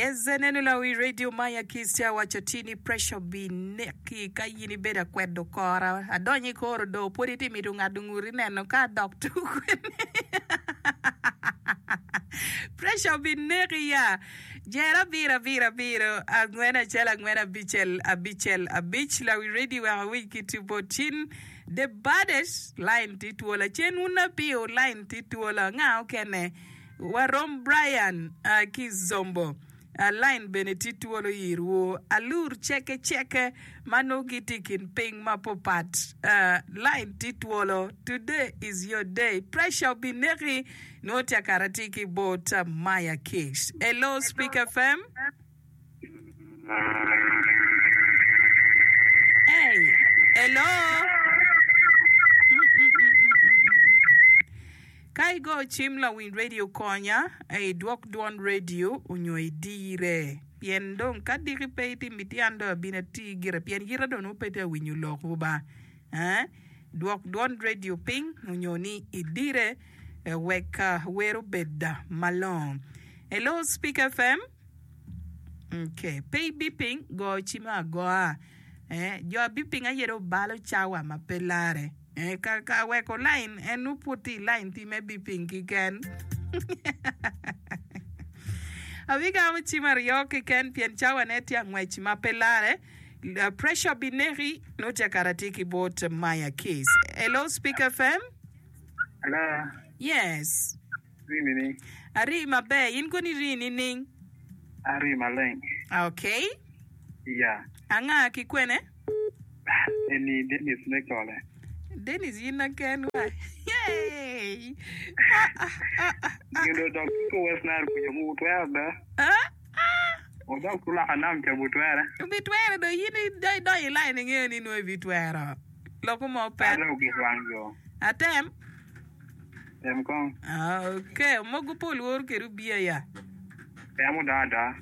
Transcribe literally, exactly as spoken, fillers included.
Yes, eneno lawi radio maya kiss tye awaco ti ni pressure bineki ka in ibedo akwedo kora adonyo i kor odo pwod iti mito ngado nguti neno ka adok tuk kwene pressure bineki ya jer abiro abiro abiro angwen acel angwen abicel abicel abic lawi radio wek awiny ki tipo cin the baddest line ti twola cen wun apiyo line ti twola nga okene Warom Brian ki Zombo line bene tye twolo irwu. Alur ceke ceke ma nongo gitye i kin piny mapopat line tye twolo. Today is your day. Pressure obineki nongo tye akara tye ki bot Maya Kicks. Hello Speak FM. Hey, hello. Ka igo cim lawiny radio konya idwok dwon radio onyo idire pien dong ka diki pe itimo iti an dong abino ati gire pien yita dong nongo pe tye awinyo lok wu ba eh dwok dwon radio piny onyo ni idire wek wer obed malongo. Hello Speak FM. Okay, pe ibiping go cim agoa eh jo abiping aye dong balo cawa ma pe lare. Eh, ka, ka weko line, en nongo pud tye i line pi me biping kiken. Abigamo cim aryo kiken pien cawane tye angwec ma pe lare. Uh, pressure bineki, nongo tye akara tye ki bot Maya Kiss. Hello, Speak FM. Hello, Yes. ri nini? Ari maber, in koni ri nining? Ari maleng. Okay. Ya. Anga ki kwene? Eni Dennis me kole. Dennis in aken wa. Yay! Ah, ah, ah, ah, ah. Gin do dok ko West Nile kuca mu twero da. Ah, ah. Odok kulaka nam ca bu twere. Ibitwero do in idonyo i line ingeyo ni nongo ibitwero. Loko mo pet. Alo gik wang jo. Atem. Tem kong. Ah, okay. Mogo pol woro kede obiya ya. Temo do ada.